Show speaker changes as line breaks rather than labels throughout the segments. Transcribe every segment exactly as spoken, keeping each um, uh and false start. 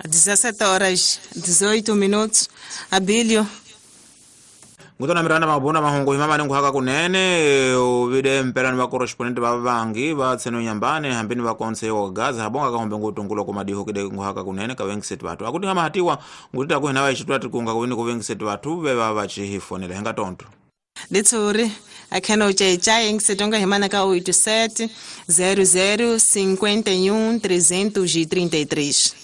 dezessete horas dezoito minutos. Abílio
ngutona miranda mabona mahungu himama ni nguhaka kunene uvide mpelani va correspondent va vangi va tseno nyambane hambini va konse wa Gaza habonga ka hombe ngutungulo kumadiho kide nguhaka kunene ka wengisetu watu akuti kama hatiwa ngutita kuhina wa ichitwa tikunga kuwini kuwengisetu watu veva vachihifonela henga tonto
Litsuri akheno chaichai ngisetonga himana ka oito sete zero zero cinquenta e um trezentos e trinta e três.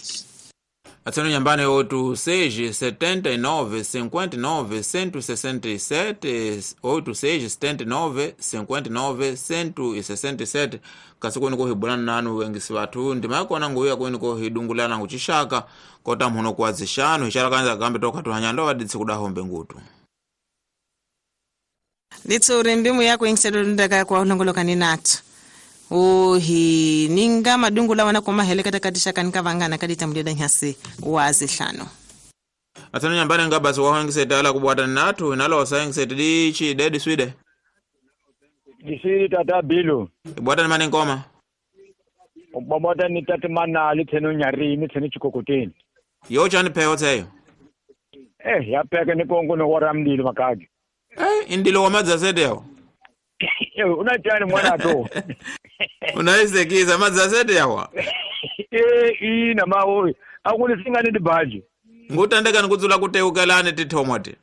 Atseno nyambane oito seis setenta e nove cinquenta e nove cento e sessenta e sete oito seis setenta e nove cinquenta e nove cento e sessenta e sete kasi kwenu kohibulana nanu wengisi vathu ndimakona nguya kwenu kohidungulana nguchishaka kota mhuno kuwazishanu ishara kanza kambe tokhatuhanyando vaditsi kudahombe ngutu.
Litsuri mbimu yako ingisedondaka kwa ulongolokani nathu uhi ninga madungu lawa na koma hele katika kanika vangana kadita mlida nyasi wazi hlano.
Atsano nyambane ngabasi wa hangisete ala kubwata natu inalo wasangisete dichi dedi swide.
Disiri tata bilo.
Ibwata ni mani ngoma.
Ubwata ni tata mana liteno nyari ni teno chikokoteni.
Yocha ni peho teyo.
Eh ya peke ni kongo no waramdilo makagi.
Eh indilo wa madzasete yao.
Eh unachani mwana to.
Unaisekiza madzasete yawa.
Eh ina mawe akulisinga ni dibaji.
Ngutandeka nikudzula kuteukelane tithomwati.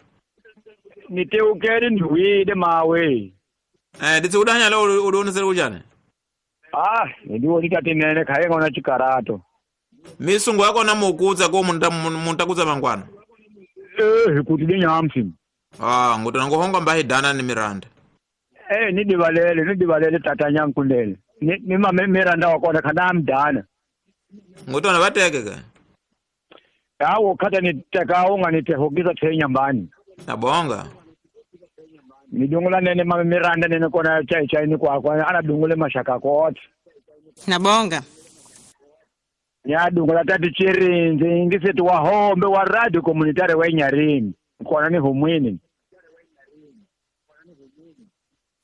Niteukele ndiwide mawe.
Eh nditsikudanya lo ulionesera kuchani?
Ah ndiwo litatinene khaye ngona chikarato.
Misungu yako namukudza ko munta muntakudza mangwana.
Eh kuti dinyamsi.
Ah ngutona ngohonga mbahidana ni Miranda.
Eh ni divalele ni divalele tata nyankulele. Ni ni mama Miranda wakona kana mdana.
Ngutona bateke ke.
Yawo khata ni teka unganitehokisa thenyambani.
Nabonga.
Nidungula nene mama Miranda nene kona chai chai ni kwa kwa ana dungule mashaka kote.
Nabonga.
Nyadungula tati chirinzi ngisethi wa hombe wa radio communitary wa Nyarini. Kona ni humwini.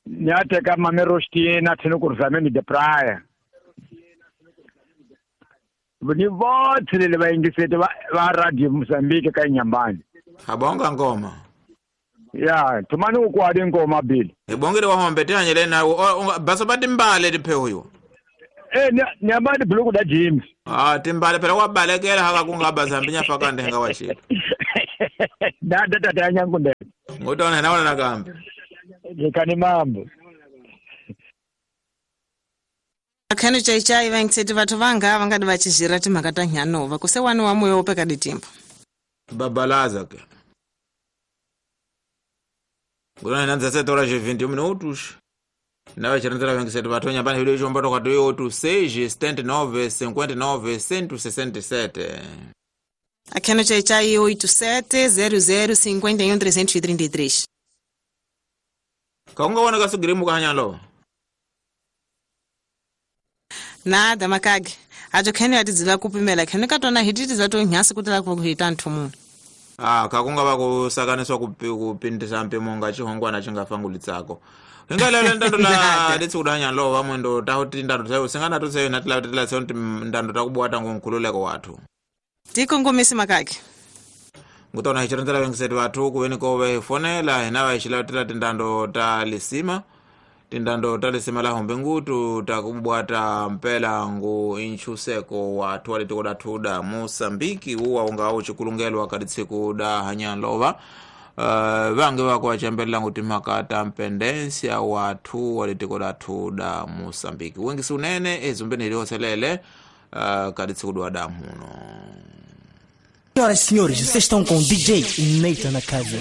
Nyateka mama Rostina thino kurzameni de praia. Ni vote le ba ngisethi va radio Mozambique ka Nyambani.
Abonga ngoma.
Ya, tumani ukwadi ngoma bili.
Ibongere wa hombe tihanyele na baso batimbale tiphe huyo.
Eh nyambani buluku da James.
Ah timbale phela kwabalekela haka kungaba zambinya faka ndenga wachile.
Da da da nyankunde.
Ngotona naona nakambe.
Ndikani mambo.
Akhano chai chai vangitseti vathu vanga vangadi vachizhira timhaka ta nyanova kuse wani wa moyo upeka ditimba.
Babalaza ke. Ngotona nanza sete horas e vinte e um minutos. Na chiranzela vengiseti vathu nyambani hilo icho mbato kati oito seis setenta e nove cinquenta e nove cento e sessenta e sete.
Akhano chai chai oito sete zero zero cinquenta e um trezentos e trinta e três.
Kaunga wana kasugirimu kahanyalo.
Nada makage. Ajo khene atidzila kupimela khene katona hititi zato nyasi kutila kuhita nthumu.
Ah kakunga vakusakaniswa kupindisa mpimo nga chihongwana chingafangulitsako. Hingalala ndando la litsikudanya lo vamwendo tahuti ndando tayo singana totseyo natila tila tseyo ndando takubwata ngonkhululeko wathu.
Tikongomisi makage.
Ngutona hichiranzela vengiseti vathu kuveni kove fonela hina vachilatela tindando ta lisima. Tindando ta lisima la hombe ngutu takubwata mpela ngu inchuseko wathu walitikoda thuda Mosambiki uwa unga uchikulungelwa kaditsiku da hanyanlova. Uh, vange vako vachembelela nguti mhaka mpendensia wathu walitikoda thuda Mosambiki. Wengisi unene ezumbeni ilioselele uh, kaditsiku da muno.
Senhoras e senhores, vocês estão com o D J Nathan na casa.